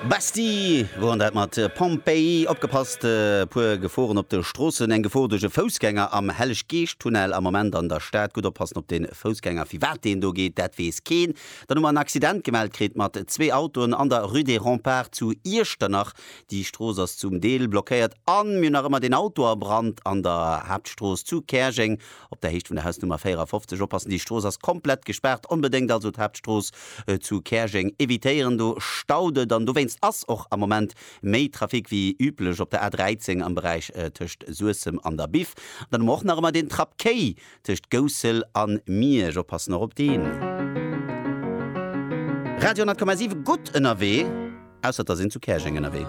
Basti woren dat mat Pompeii. Opgepasst, e puer Geforen op de Stroossen. Eng Gefor duerch e Foussgänger am Helleg-Geescht-Tunnel am Moment an der Stad. Gutt oppassen op de Foussgänger. Firwat deen do geet, dat weess keen. Dann hu mer en Accident gemellt kritt mat zwee Autoen an der Rue des Remparts zu Iechternach. Déi Strooss ass zum Deel blockéiert an mir hunn nach ëmmer deen Auto a Brand an der Haaptstrooss zu Käerjeng op der Héicht vun der Hausnummer 54. Oppassen, déi Strooss ass komplett gespaart. Onbedéngt also d'Haaptstrooss zu Käerjeng evitéieren, do staut et an dowéinst ass och am Moment méi Trafic wéi üblech op der A13 am Beräich tëscht Suessem an der Biff. Dann hu mer och nach ëmmer deen Trapp Kéi Tëscht Goussel an Miersch, oppassen och op deen. Radio 10,7 gutt ënnerwee, ausser et ass een zu Käerjeng ënnerwee.